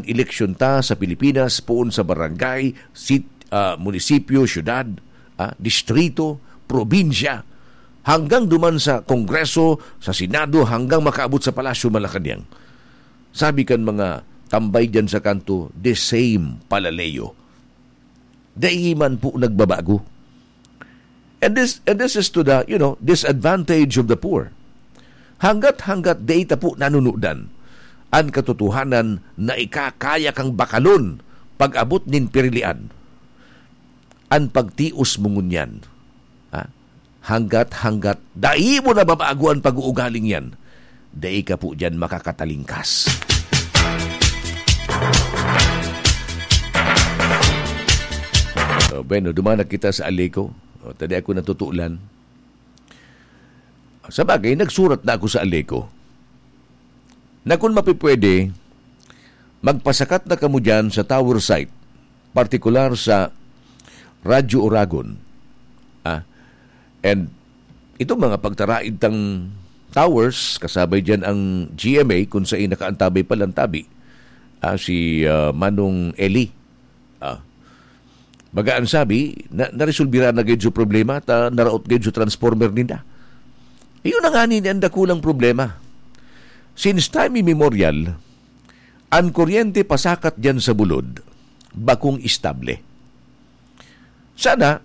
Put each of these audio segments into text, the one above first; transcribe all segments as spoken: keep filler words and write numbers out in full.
eleksyon ta sa Pilipinas, poon sa barangay, sit-, ah, munisipyo, syudad, ah, distrito, probinsya, hanggang duman sa Kongreso, sa Senado, hanggang makaabot sa Palasyo Malacañang. Sabi kan mga tambay diyan sa kanto, the same palalayo. Dai man po nagbabago. And this, and this is to the, you know, disadvantage of the poor. Hanggat-hanggat dai ta po nanunudan an katotohanan na ikakaya kang bakalon pag-abot nin pirilian, an pagtios mo ngunyan. Ha? Hanggat-hanggat dai mo nababago an pag-uugaling yan, dai ka po diyan makakatalingkas. So, bueno, duman na kita sa Aleco. O, tadi ako natutulan. Sa bagay, nagsurat na ako sa Aleco na kung mapipwede, magpasakat na kamo dyan sa tower site, partikular sa Radyo Oragon. Ah, and itong mga pagtaraid tang towers, kasabay dyan ang G M A, kung saan nakaantabay palang tabi, ah, si, ah, Manong Eli. Ah. Baga an sabi, na, naresolbira na gid so problema, ta naraot gid so transformer ninda. Iyon na ngani ni an dakulang problema. Since time immemorial, an kuryente pasakat diyan sa bulod, bakong estable. Sana,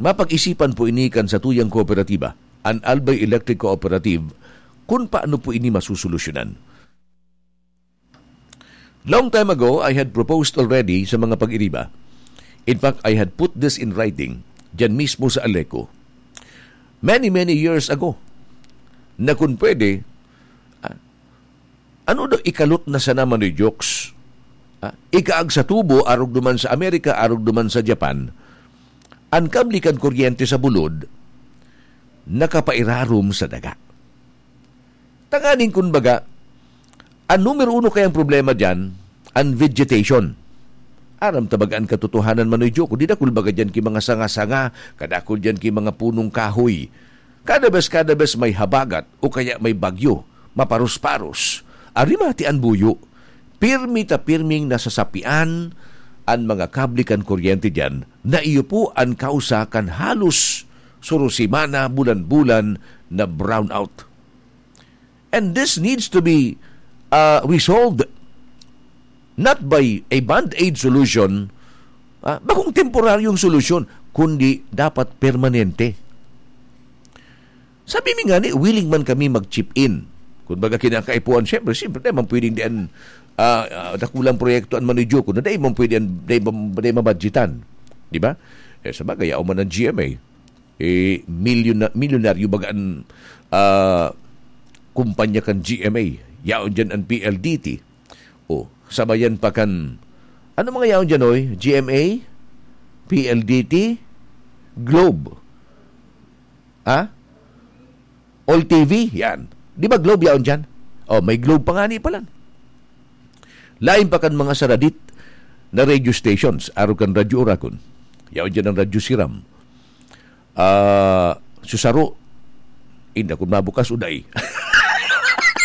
mapag-isipan po ini kan satuyang kooperatiba, an Albay Electric Cooperative, kung paano po ini masusolusyonan. Long time ago, I had proposed already sa mga pag-iriba. In fact, I had put this in writing, diyan mismo sa Aleco. Many, many years ago, na kung pwede, ah, ano daw ikalot na sana, Manoy Jokes? Ah, ikaag sa tubo, arog duman sa Amerika, arog duman sa Japan, an kable kan kuryente sa bulod, nakapairarom sa daga. Tanganing kun baga, an numero uno kayang problema diyan, an vegetation. Aram ta baga an katotohanan, Manoy Joko, di dakul baga diyan ki mga sanga-sanga, kadakul diyan ki mga punong kahoy. Kada bes, kada bes may habagat o kaya may bagyo, maparos-paros. Arimati an buyo. Pirmi ta pirming nasasapian an mga kable kan kuryente diyan na iyo po an kausa kan halos surusimana, bulan-bulan na brownout. And this needs to be, uh, resolved not by a band-aid solution, ah, bakong temporaryong solusyon, kundi dapat permanente. Sabi mi nga ni, willing man kami mag-chip in. Kung baga kinakaipuhan, siyempre, siyempre, di man pwedeng diyan, ah, ah, dakulang proyekto an manidyo ko na di man pwede an, di man, di mabudgetan. Di ba? Eh, sa bagay, yaon man ang G M A. Eh, milyona-, milyonaryo baga an, ah, kumpanya kan G M A. Yaon dyan an P L D T. O, sabayan pa kan, ano mga yaon dyan, oy? G M A, P L D T, Globe. Ha? All T V, yan. Di ba Globe yaon dyan? O, may Globe pa nga ni palan. Lain pa kan mga saradit na radio stations, arog kan Radyo Oragon. Yaon dyan ang Radyo Siram. Ah, susaro. Inda kung mabukas o dai.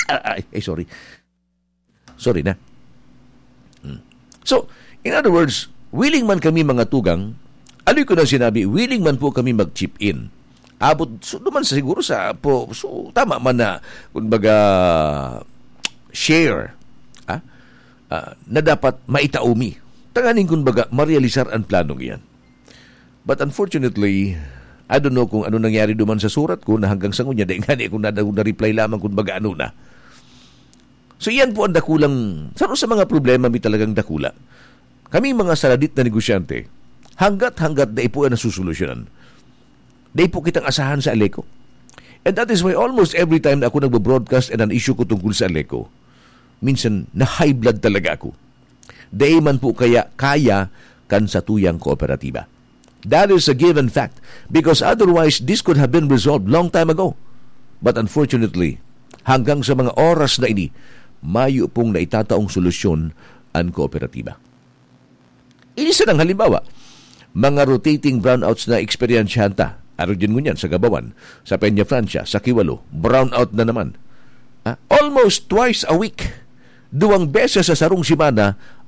Ay, ay, sorry. Sorry na. Hmm. So, in other words, willing man kami mga tugang, aloy ko na sinabi, willing man po kami mag-chip in. Abot, so, duman sa siguro sa, po, so, tama man na, kumbaga, share, ah, ah, na dapat maitaomi. Tanganing, kumbaga, marealisar ang planong iyan. But unfortunately, I don't know kung ano nangyari duman sa surat ko na hanggang sa ngunya, dai ngani ako na, na-reply lamang kung baga ano na. So, iyan po ang dakulang, saro sa mga problema mi talagang dakula. Kaming mga saradit na negosyante, hanggat-hanggat dai po yan nasusolusyonan, dai po kitang asahan sa Aleco. And that is why almost every time na ako nagbo-broadcast and an issue ko tungkol sa Aleco, minsan na-high blood talaga ako. Dai man po kaya kaya kan satuyang kooperatiba. That is a given fact, because otherwise this could have been resolved long time ago. But unfortunately, hanggang sa mga oras na ini, mayo pong naitataong solusyon an kooperatiba. Ini sanang halimbawa, mga rotating brownouts na eksperyensyahan ta. Arog din ngunyan sa Gabawan, sa Peña Francia, sa Kiwalo, brownout na naman. Ah, almost twice a week, duwang beses sa sarong semana,